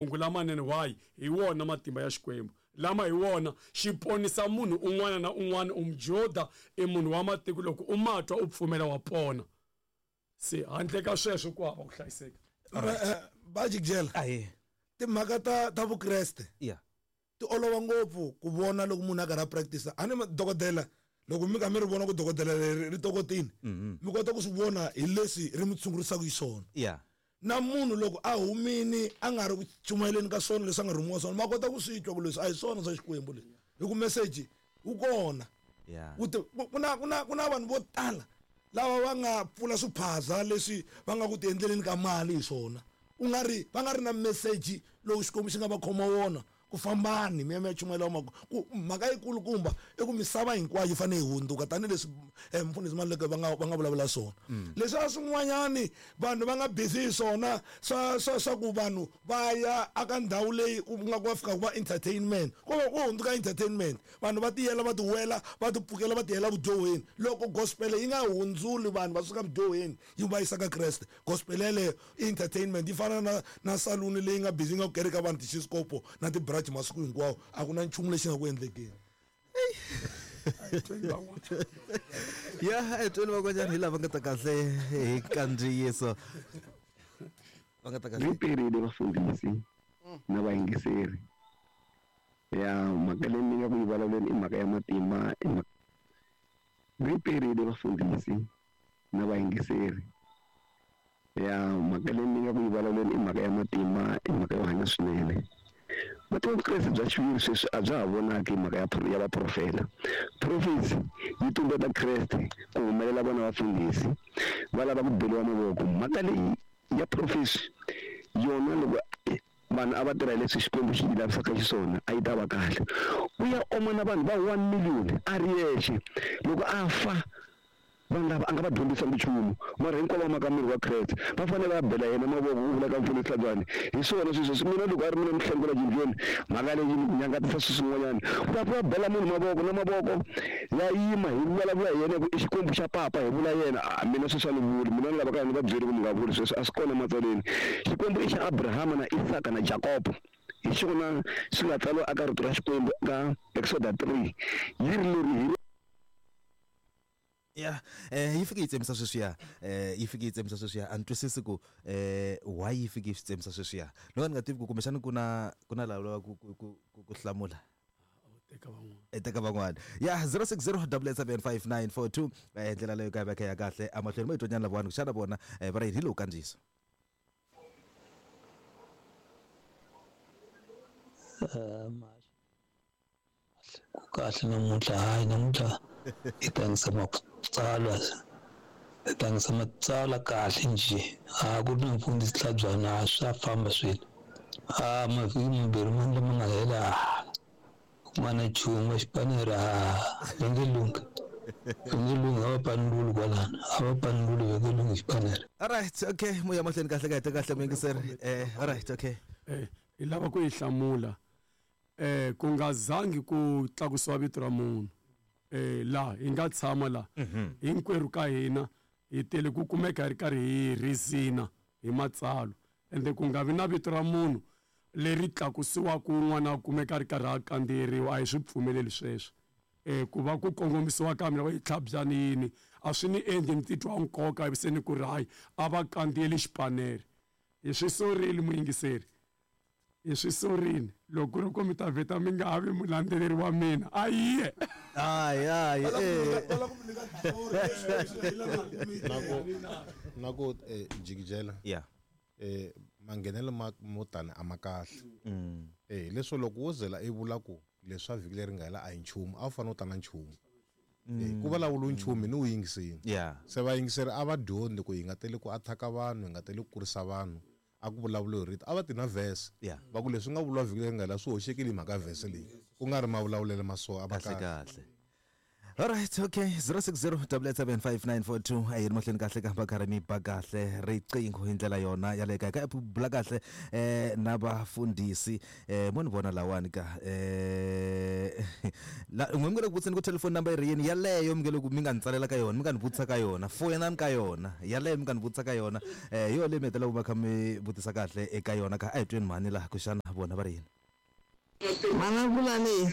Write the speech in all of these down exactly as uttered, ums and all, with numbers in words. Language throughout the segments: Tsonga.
Mahungu lamanene why hi wona matimba ya Xikwembu lama hi wona xi ponisa munhu un'wana na un'wana u mujuda i munhu wa matiko loko u matwa u pfumela wa pona se handle ka sweswo ku hava ku hlayiseka. Ba jikjela ahe timhaka ta ta Vukreste yeah ti olova ngopfu ku vona loko munhu a karhi a practice a ni dokodela loko mi ka mi ri vona ku dokodela leri ri tokotini mi kota ku swi vona hi leswi ri mi tshungurisaka hi swona yeah na munhu loko a humini a nga ri ku chumayeleni ka swona leswi a nga rhumiwa swona ma kota ku swi twa ku leswi a hi swona swa Xikwembu leswi hi ku message wu kona yeah ku na ku na ku na vanhu vo tala lava va nga pfula swiphaza leswi va nga ku ti endleleni ka mali hi swona u nga ri va nga ri na message lowu Xikwembu xi nga va khoma wona ku fambani mi ya mi ya chumayela mhaka ku mhaka yikulukumba i ku misava hinkwayo yi fanele yi hundzuka tanihileswi mfundhisi Maluleke va nga va nga vulavula swona leswi a swin'wanyani vanhu va nga busy hi swona swa swa swa ku vanhu va ya aka ndhawu leyi ku nga ku va fika ku va entertainment ku va ku hundzuka entertainment vanhu va tiyela va tiwela va tipfukela va tiyela vudyoheni loko gospel yi nga hundzuli vanhu va suka vudyoheni yi va yisa ka Kreste gospel yeleyo entertainment yi fana na na saluni leyi nga busy yi nga ku kereka vanhu tixiskopo na tibra masiku hinkwawo a ku na nchumu lexi nga ku endlekeni. Ya etweni vakwanyana hi lava nga ta kahle hi kandziyiso va nga ta kahle riperile vafundhisi na vayingiseri ya mhaka leyi ni nga ku yi vulavuleni i mhaka ya matimba riperile vafundhisi na vayingiseri ya mhaka leyi ni nga ku yi vulavuleni i mhaka ya matimba i mhaka yo hanya swinene. Matimba Vukreste bya xiviri sweswi a bya ha vonaki mhaka ya ya vaprofeta. Prophecy yi tumbeta Kreste ku humelela vona vafundhisi va lava ku beliwa mavoko. Mhaka leyi ya prophecy yona loko vanhu a va tirha leswi Xikwembu xi yi lavisaka xiswona a yi ta va kahle. U ya oma na vanhu va one million a ri yexe loko a fa vanhu lava a nga va dyondzisa nchumu mara hinkwavo va maka miri wa Kreste va fanele va bela yena mavoko ku vula ka mfundhisi Hlabyani hi swona sweswo swi mina loko a ri mina Mhlengula Jinjoni mhaka leyi nyangatisa swilo swin'wanyana ku ta va bela munhu mavoko na mavoko ya yima hi vulavula hi yena ku i Xikwembu xa papa hi vula yena a mina sweswi a ni vuli mina ni lava ka ni va byeli ku mi nga vuli sweswo a swi kona matsaleni Xikwembu i xa Abrahama na Isaka na Jakobo hi xona swi nga tsariwa eka rito ra Xikwembu ka Exoda three yi ri leri hi ya eh yi fike yi tsemisa sweswiya eh yi fike yi tsemisa sweswiya a ni twisisi ku eh why yi fike yi swi tsemisa sweswiya no ni nga tivi ku kumbexana ku na ku na lava lava ku ku ku ku hlamula teka van'wana teka van'wana ya zero six zero double seven five nine four two eh ndlela leyo ka va ya kahle amahlweni mo itonyana lavawani ku xana vona va ri hi lowu kandziyiso ku kahle namuntlha hayi namuntlha i tlangisa matsalwa i tlangisa matsalwa kahle njhe a ku ri na mfundhisi Hlabyana swa famba swilo a mavhiki mambirhi mani lama nga hela ku nga na nchumu xipanere a va nge lunghi va nge lunghi a va panululi kwalano a va panululi va nge lunghi xipanere. Alright, okay moya mahlweni kahle kahle kahle muyingiseri eh alright okay eh hi lava ku yi hlamula eh ku nga zangi ku tlakusiwa vito ra munhu eh la hi nga tshama la hinkwerhu ka hina hi tele ku kumeka hi ri karhi hi rizina hi matsalwa ende ku nga vi na vito ra munhu leri tlakusiwaka un'wana a kumeka a ri karhi a kandziyeriwa a hi swi pfumeleli sweswo eh ku va ku kongomisiwa ka mina va yi tlhabyani yini a swi ni endli ni titwa nkoka ivi se ni ku ri hayi a va kandziyeli xipanere hi swi sorile muyingiseri hi swi sorini loko ku ri ku mi ta vheta mi nga ha vi mulandzeleri wa mina a yiye hayi hayi na ku jikijela yeah eh manghenelo ma mo tani a ma kahle eh leswo loko wo zela i vula ku leswa vhiki leri nga hela a hi nchumu a wu fanele u ta na nchumu eh ku vulavula nchumu ni wu yingisini se vayingiseri a va dyondzi ku hi nga teli ku athaka vanhu hi nga teli ku kurisa vanhu a ku vulavula hi rito a va ti na verse va ku leswi nga vuriwa vhiki leri nga hela swi hoxekile hi mhaka verse leyi ku nga ri mavulavulelo ma so a va kahle kahle. Alright, okay. zero six zero double eight seven five nine four two. A yi ri mahlweni kahle ka karhi mi ba kahle riqingho hi ndlela yona ya le kaya ka bula kahle eh na vafundhisi eh mo ni vona lawani ka eh la n'we mi nge le ku vutiseni ku telephone number yi ri yini yaleyo mi nge le ku mi nga ni tsalela ka yona mi nga ni vutisa ka yona foyinani ka yona yaleyo mi nga ni vutisa ka yona eh hi yona leyi mi hetelelaka va kha mi vutisa kahle eka yona ka a hi tweni mhani laha ku xana vona va ri yini. Mana kulani.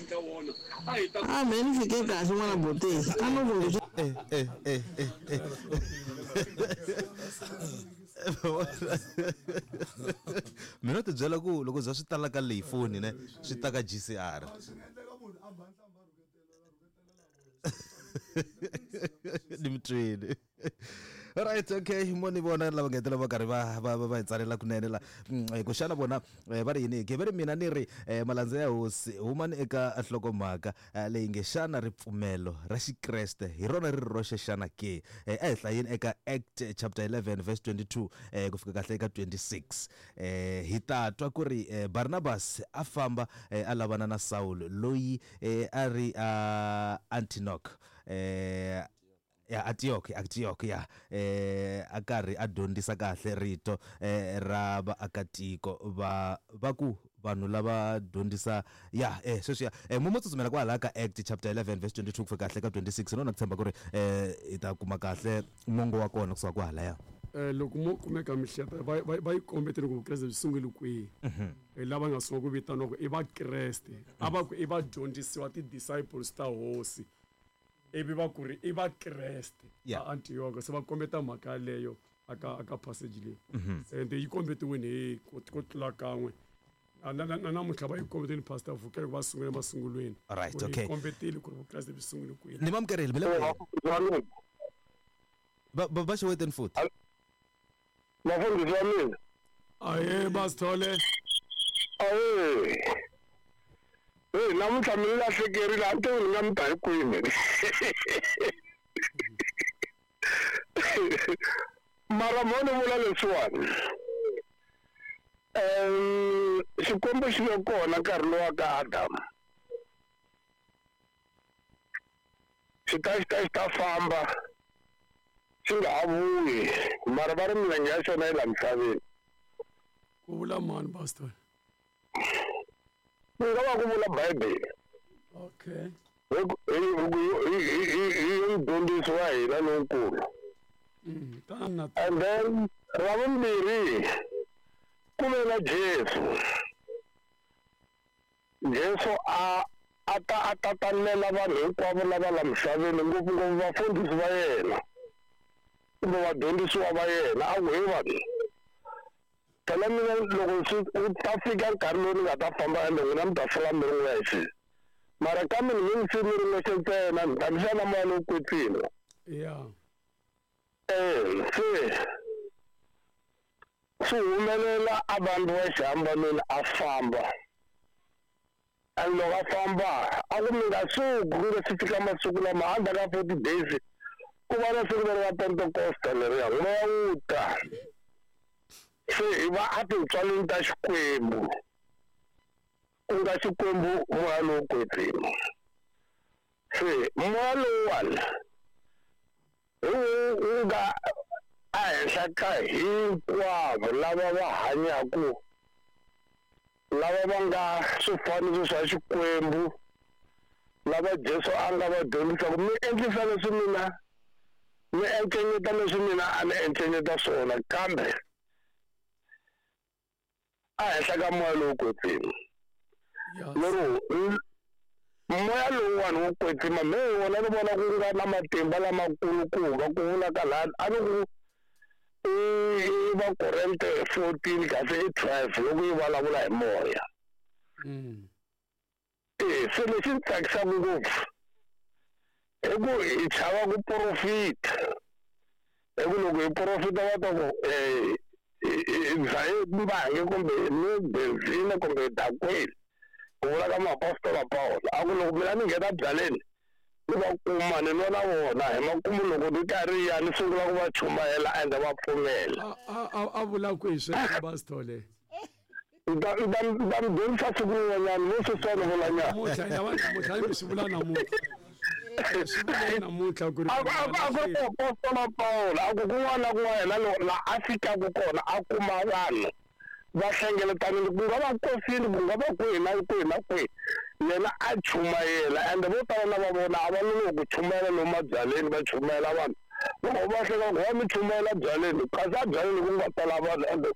Ah, me ni fike kahle n'wana bote. A no ku eh eh eh eh. Mina ti byela ku loko bya swi tala ka leyi foni ne swi ta ka G C R. Ni mitwini. Alright, okay. Mo ni vona lava nga hetelela va karhi va va va hi tsalela kunene la ku xana vona va ri yini ke va ri mina ni ri malandza ya hosi humani eka nhlokomhaka leyi nge xana ripfumelo ra xikreste hi rona ri roxe xana ke a hi hlayeni eka Act chapter eleven verse twenty-two ku fika kahle eka twenty-six hi ta twa ku ri Barnabas a famba a lavana na Saul loyi a ri a Antioch eh ya Antioch Antioch ya eh a karhi a dyondzisa kahle rito eh ra vaakatiko va va ku vanhu lava dyondzisa ya eh sweswi ya eh mo tsutsumela kwala ka Act chapter eleven verse twenty-two ku fika kahle ka twenty-six no na ku tshemba ku ri eh hi ta kuma kahle mongo wa kona kusuka kwahala ya eh loko mo kumeka mihlata va va yi kombetele ku Vukreste byi sungule kwihi hi lava nga sungula ku vitaniwa ku i Vakreste a va ku i vadyondzisiwa ti-disciples ta hosi ivi va ku ri i Vakreste va Antioch se va kombeta mhaka yaleyo aka aka passage leyi ende yi kombetiwini hi ku tlula kan'we na namuntlha va yi kombetile Pastor Vukele ku va sungule masungulweni right okay yi kombetile ku ri Vukreste byi sungule kwihi ni mamukerile mi le va va xeweteni futhi vafundhisi va mina ahe Basithole ahe hey namuntlha mi lahlekerile a ni tivi ni nga mi ta hi kwini mara mo ni vula leswiwani um Xikwembu xi ve kona nkarhi lowa ka Adamu xi ta xi ta xi ta famba xi nga ha vuyi mara va ri milenge ya xona yi la misaveni ku vula mani Pastor ku nga va ku vula Bibele okay hi hi mudyondzisi wa hina lonkulu and then ra vumbirhi ku ve na Jesu Jesu a a ta a tatalela vanhu hinkwavo lava la misaveni ngopfungopfu vafundhisi va yena kumbe vadyondzisiwa va yena a ku he vanhu phela mina loko swi wu ta fika nkarhi lowu ni nga ta famba ende n'wina mi ta sala mi ri n'wexe mara kambe ni nge mi mi ri n'wexe ntsena ni ta mi xana moya lowu kwetsima ya eh se swi humelela a vanhu wa xihambanweni a famba and loko a famba a ku mi nga suki ku nga si fika masiku lama endzhaku ka forty days ku va na siku leri ra Pentecosta leriya moya wu ta se hi va a tintswaleni ta Xikwembu ku nga Xikwembu moya lowu kwetsima se moya lowuwani hi wu wu nga ehenhla ka hinkwavo lava va hanyaku lava va nga swifaniso swa Xikwembu lava Jesu a nga va dyondzisaka mi endlisa leswi mina mi encenyeta leswi mina a ni encenyeta swona kambe ehenhla ka moya lowu kwetsima lero moya lowuwani wo kwetsima me hi wona ni vona ku nga na matimba lamakulukumba ku vula ka laha a ni ku i Vakorinte fourteen kasi i twelve loko yi vulavula hi moya e se lexi ni tsakisaka ngopfu i ku hi chava ku porofita hi ku loko hi porofita va ta ku dzaye mbangi kumbe ni benzina kumbe dakwini ku vula ka muapostola Paulo a ku loko mina ni nghena byaleni ni va kuma ni nwa na vona hi makumu loko ni karhi ya ni sungula ku va chumayela ende va pfumela a a vula ku hi sweswo Basithole ni ta ni ta ni ta mi dyondzisa siku rin'wanyana mo sweswiwani vulanyana namuntlha namuntlha mi swi vula namuntlha Swi vule namuntlha ku ri A ku a ku a ku ri muapostola Pawulo a ku kun'wana na kun'wana yena lo- la a fikaka kona a kuma vanhu va hlengeletanile ku nga va nkosini ku nga va kwihi na kwihi na kwihi yena a chumayela ende vo tala na va vona a va lolohi ku chumayela lomu mabyaleni va chumayela vanhu loko va hleka ku va mi chumayela byaleni kasi a byaleni ku nga tala vanhu ende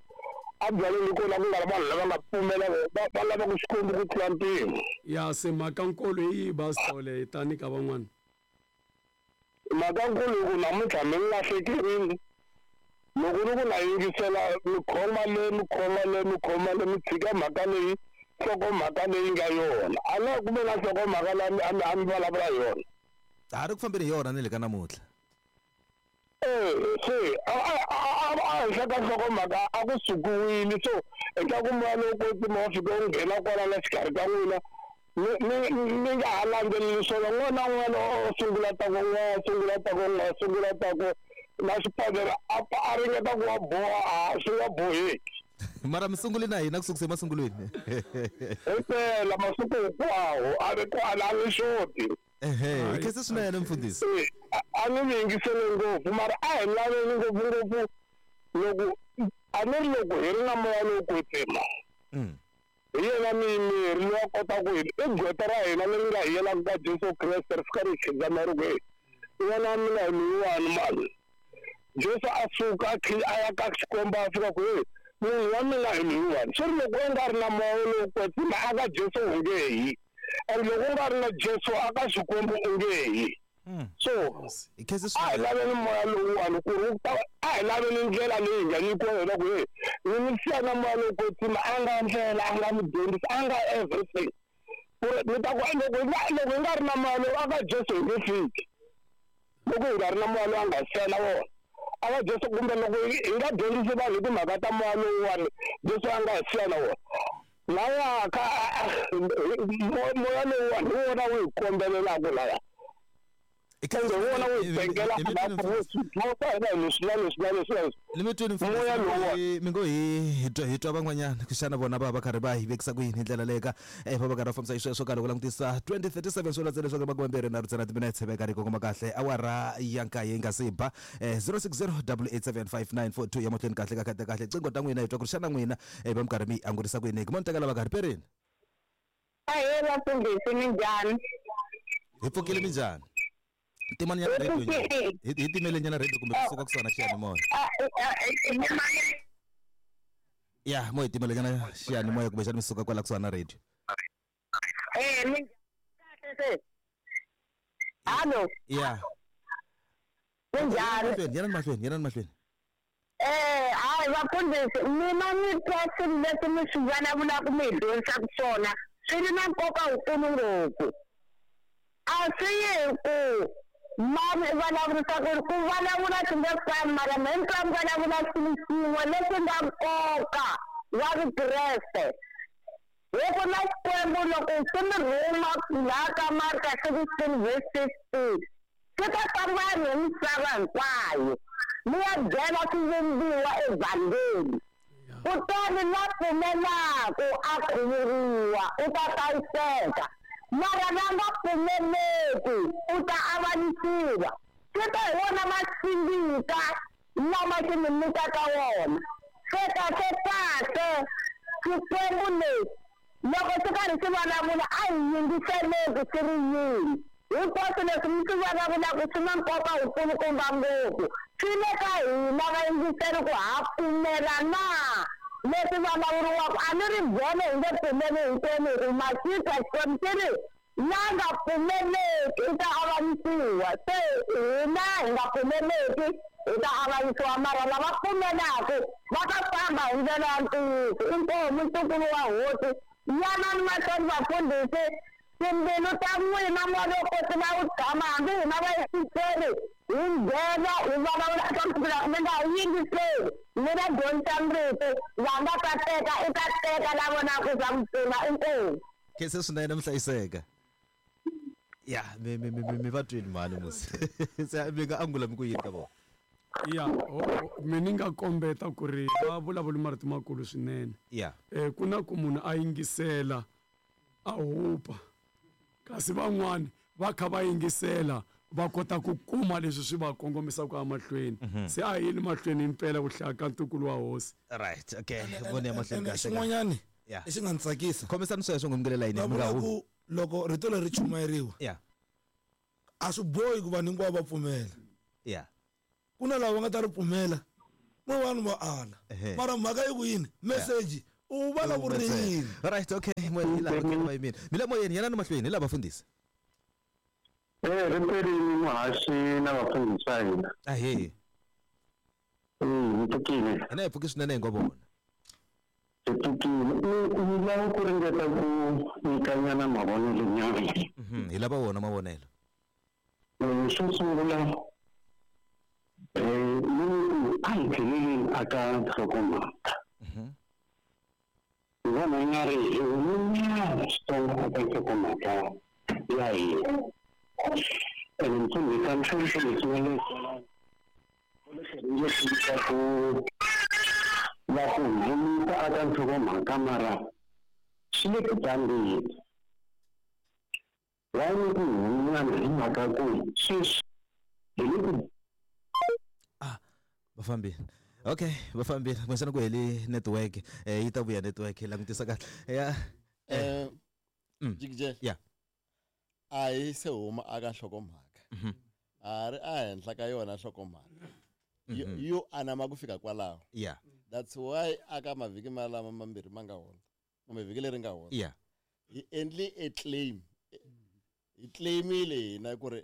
a byaleni kona ku nga ri vanhu lava nga pfumela va va lavaka Xikwembu ku tlula mpimo. Ya se mhaka nkulu hi yihi basitole hi tani ka van'wana? Mhaka nkulu hi ku namuntlha mi ni lahlekerile loko ni ku na yingisela mi khoma le mi khoma le mi khoma le mi tshika mhaka leyi nhlokomhaka leyi nga yona a na ku ve na nhlokomhaka leyi a mi- a mi a mi vulavula hi yona. Ha ri ku fambeni hi yona ni le ka namuntlha. Eh, se a a a a henhla ka nhlokomhaka a ku sukiwile so eka ku moya lowu kwetsima wa fika wu nghena kwala la xikarhi ka n'wina mi mi mi nga ha landzeleli swona n'wana na n'wana o sungula ta ku n'we sungula ta ku n'we sungula ta ku na xipandzela a a ringeta ku wa boha a swi nga boheki. Mara mi sunguli na hina ku sukisa emasungulweni. Himpela masiku hinkwawo a ri kwala a ni xoti. Ehe, hi khensa swinene mfundhisi. Eh, a- a ni mi yingisele ngopfu mara a hi laveni ngopfungopfu loko a ni ri loko hi ri na moya lowu kwetsima Mm. hi yena muyimeri loyi a kota ku hi i gqweta ra hina leri nga hi yelaka ka Jesu Kreste ri fika ri hi khidzama ri ku hey n'wana wa mina hi loyiwani mani Jesu a suka a khi a ya ka Xikwembu a fika ku hey munhu wa mina hi loyiwani swi ri loko u nga ri na moya lowu kwetsima a ka Jesu u nge yi and loko u nga ri na Jesu a ka Xikwembu u nge yi. So Hi khensa a hi swinene. laveni moya lowuwani ku ri wu ta a hi laveni ndlela leyi hi nga nyikiwa yona ku hey ni mi siya na moya lowu kwetsima a nga ndlela a nga mudyondzisi a nga everything ku ri ni ta ku loko hi nga loko hi nga ri na moya lowu a ka Jesu hi nge fiki loko hi nga ri na moya lowu a nga siya na wona a ka Jesu kumbe loko hi hi nga dyondzisi vanhu hi timhaka ta moya lowuwani Jesu a nga hi siya na wona laya ka moya lowuwani hi wona wu hi kombelelaka laya Hi khensa ende hi wona wu hi swinene. bengela Hi mi twini mfundhisi. swa hina hi leswi na leswi na leswi na leswi Ni mi twini Moya mfundhisi lowa. mi ngo hi hi twa hi twa van'wanyana ku xana vona va va karhi va hi vekisa ku yini hi ndlela leyi ka eh va va karhi va fambisa xisweswo ka loko langutisa twenty thirty-seven swo landza leswaku makume mbirhi na nharhu timinetse va karhi kongoma kahle awara ya nkaye yi nga se ba eh zero six zero double eight seven five nine four two ya mahlweni kahle ka kahle kahle qingho ta n'wina hi twa ku ri xana n'wina eh va mi karhi mi yi angurisa ku yini hi mo ni tekela va karhi perini. Ahee vafundhisi minjhani? Hi pfukile minjhani? Timani nyana radio nyana. Hi hi timele nyana radio kumbe kusuka kusuhana xiyanimoya. Ya mo hi timele nyana xiyanimoya kumbe xana mi suka kwala kusuhana na radio. Eh minjhani kahle se? Hallo, Ya. minjhani? Mahlweni, yanani mahlweni, yanani mahlweni. Eh hayi vafundhisi mina ni twa swilo leswi mi swi vulavulaka mi hi dyondzisaka swona swi ri na nkoka wukulu ngopfu. A swi yi hi ku mani i vulavurisa ku ri ku vulavula swi nge fani mara me ni twa mi vulavula xilo xin'we lexi nga nkoka wa Vukreste. Hi ku na Xikwembu loko xi mi rhuma laha ka Marka sixteen verse sixteen xi ta famba hi misava hinkwayo mi ya byela swivumbiwa evhangeli. Kutani la pfumelaku a khuvuriwa u ta hlayiseka mara la nga pfumeleki u ta avanyisiwa. Swi ta hi wona masingita lama xi mi nyikaka wona. Se kahle kahle Xikwembu lexi loko xi karhi xi vulavula a hi yingiseleki xi ri yini hinkwaswo leswi mi swi vulavulaka swi na nkoka wukulukumba ngopfu swi le ka hina vayingiseri ku ha pfumela na leswi vulavuriwaka a ni ri byele hi nge pfumeli hinkwenu hi ku maxitwa Xikwembu xi ri la nga pfumeleki u ta avanyisiwa se hina hi nga pfumeleki hi ta avanyisiwa mara lava pfumelaku va ta famba hi ndlela ya ntiyiso inkomu ntukulu wa hosi yanani mahlweni vafundhisi timbilu ta n'wina moya lowo kwetsima wu tshama hambi hina vayingiseri hi nghena hi vulavula eka mi nga yingiseli mi va dyondzisa rito va nga ta teka i ta teka la vonaka swa ku pfuna inkomu. Khensa swinene mi hlayiseka. Ya mi mi mi mi va twini mhani musi. Se mi nga angula mi ku yini ka vona? Ya mi ni nga kombeta ku ri va vulavula marito makulu swinene. Ya. Eh ku na ku munhu a yingisela a hupa kasi van'wani va kha va yingisela va kota ku kuma leswi swi va kongomisaka emahlweni. Se a hi yini mahlweni impela ku hlaya ka ntukulu wa hosi. Right, okay, vone ya mahlweni kahle. Xin'wanyani Yeah. lexi nga ni tsakisa khomisani sweswo ngomgelela yini va mi nga vula humi ku loko rito leri chumayeriwa yeah a swi bohi ku vanhu hinkwavo va pfumela. Yeah. Ku na lava va nga ta ri pfumela mo vanhu va ala. Ehe. Mara mhaka yi ku yini message u vulavurile. Right, okay, moyeni hi lava va yimini mi le moyeni yena ni mahlweni hi lava vafundhisi. Eh, riperini muhaxi na vafundhisi va hina. Ahee. Mm, hi pfukile. Hina hi pfuki swinene hi ngo vona. Hi pfukile. Ni ni lava ku ringeta ku nyikanyana mavonelo nyana. Mhm, hi lava wona mavonelo. Eh, xo sungula eh ni ku a hi tlheleleni aka nhlokomhaka. Ni vona i nga ri hi humenyana switsongo aka nhlokomhaka ya hina. Ene mfundhisi a mfundhisi leswi nga le ringeta ku va ku humisa aka nhlokomhaka mara swi le ku tsandeni. Why ni ku humenyana hi mhaka ku sweswi hi le ku va fambile. Okay, va fambile kumbexana ku heli network eh yi ta vuya network langutisa kahle ya. Eh, Mm. Jikijela. Yeah. A hi se huma aka nhlokomhaka. Mhm. A ri ehenhla ka yona nhlokomhaka. Yo- Mhm. Yo anama ku fika kwalaho. Yeah. That's why aka mavhiki malama mambirhi ma nga hundza. Kumbe vhiki leri nga hundza. Yeah. Hi endli a claim. Hi claimile hina ku ri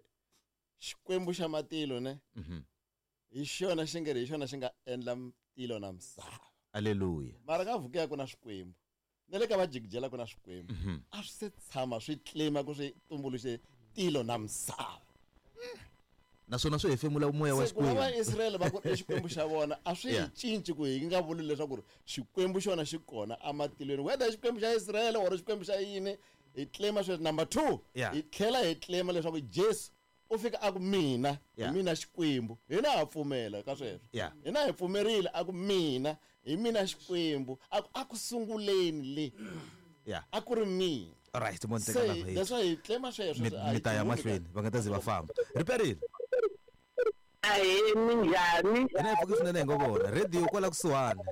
Xikwembu xa matilo ne. Mhm. Hi xona xi nge ri hi xona xi nga endla tilo na misava. Hallelujah. Mara ka Vukiya ku na Xikwembu. Na le ka vajikijela ku na Xikwembu. Mhm. A swi se tshama swi claima ku swi tumbuluxe tilo na misava. Naswona swi hefemula moya wa Se ku va Xikwembu. Vaisrael va ku i Xikwembu xa vona a swi hi Yeah. cinci ku hi nga vuli leswaku ri Xikwembu xona xi kona ematilweni whether i Xikwembu xa Israel or Xikwembu xa yini hi claima sweswo. Number two, Yeah. hi tlhela hi claima leswaku Jesu u fika a ku mina hi Yeah. mina Xikwembu. Hina ha pfumela ka sweswo. Yeah. Hina hi pfumerile a ku mina hi mina Xikwembu a ku a ku sunguleni le Yeah. a ku ri mina. All right, mo Se teka lava hi. that's why hi claima sweswo. Mi A hi mi ta ya humi mahlweni va nga ta ze va famba. Riperile. Ahee, minjhani? Hina hi pfuki swinene hi ngo vona radio kwala kusuhani.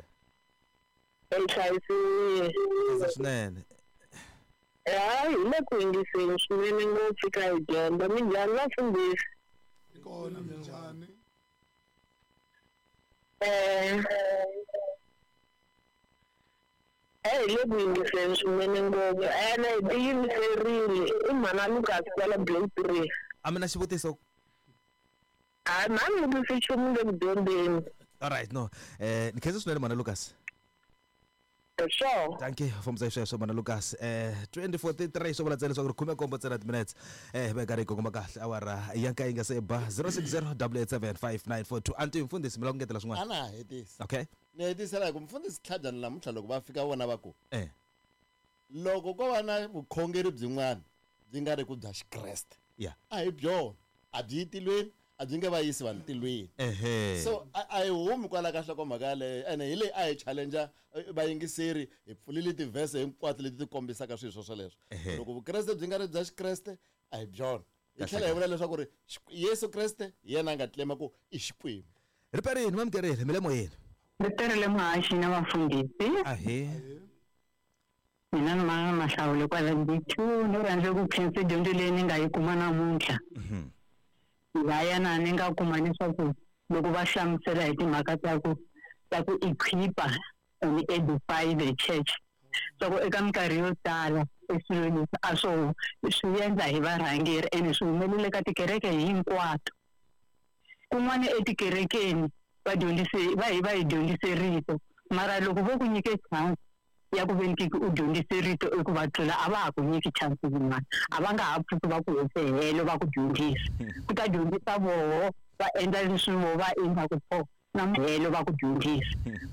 Hi hlayisiwile. Khensa swinene. Hayi, hi le ku yingiseni swinene ngopfu ka hi dyondza. Minjhani vafundhisi? Kona minjhani? Eh, eh, hi le ku yingiseni swinene ngopfu ene hi tiyimiserile. I mhana Lucas kwala Blake three. A mi na xivutiso? Hayi, mhani vutisi nchumu le ku dyondzeni. All right, no. Eh ni khensa swinene mhana Lucas. Sure. Thank you fambisa sweswo mhana Lucas. Eh twenty forty-three swo vula ntsena leswaku ri khume nkombo ntsena minutes. Eh va karhi hi kongoma kahle awara ya nkaye yi nga se ba zero six zero double eight seven five nine four two. Anti mfundhisi mi lava ku ngetela A swin'wana? na ha hetisi. Okay. Ni hetisela hi ku mfundhisi Tlhabyana namuntlha loko va fika vona va ku Eh. loko ko va na vukhongeri byin'wana byi nga ri ku bya Xikreste Yeah. a hi byona a byi yi tilweni a byi nge va yisi vanhu tilweni. Ehe. So a a hi humi kwala ka nhlokomhaka yaleyo ene hi leyi a hi challenge vayingiseri hi pfulile tivhese hinkwato leti ti kombisaka swilo swo swoleswo. Ehe. Loko Vukreste byi nga ri bya Xikreste a hi byona. Hi Kahle tlhela hi vula leswaku ri Xik- Yesu Kreste hi yena a nga claima ku i Xikwembu. Riperini mamukerile mi le moyeni. Riperile muhaxi na vafundhisi. Ahee. Mina ni ma Mahlawule kwala B two ni rhandza ku khensa dyondzo leyi ni nga yi kuma namuntlha. Laya na ni nga kuma leswaku loko va hlamusela hi timhaka ta ku ta ku equipa and edify the church. Swa ku eka minkarhi yo tala e swilo leswi a swo swi endla hi varhangeri ene swi humelele ka tikereke hinkwato. Kun'wana etikerekeni va dyondzise va hi va hi dyondzise rito mara loko vo ku nyike chance ya ku ve ni u dyondzise rito i ku va tlula a va ha ku nyiki chance yin'wana a va nga ha pfuki va ku hese helo va ku dyondzisa ku ta dyondzisa voho va endla leswi voho va endlaku swona na helo va ku dyondzisa.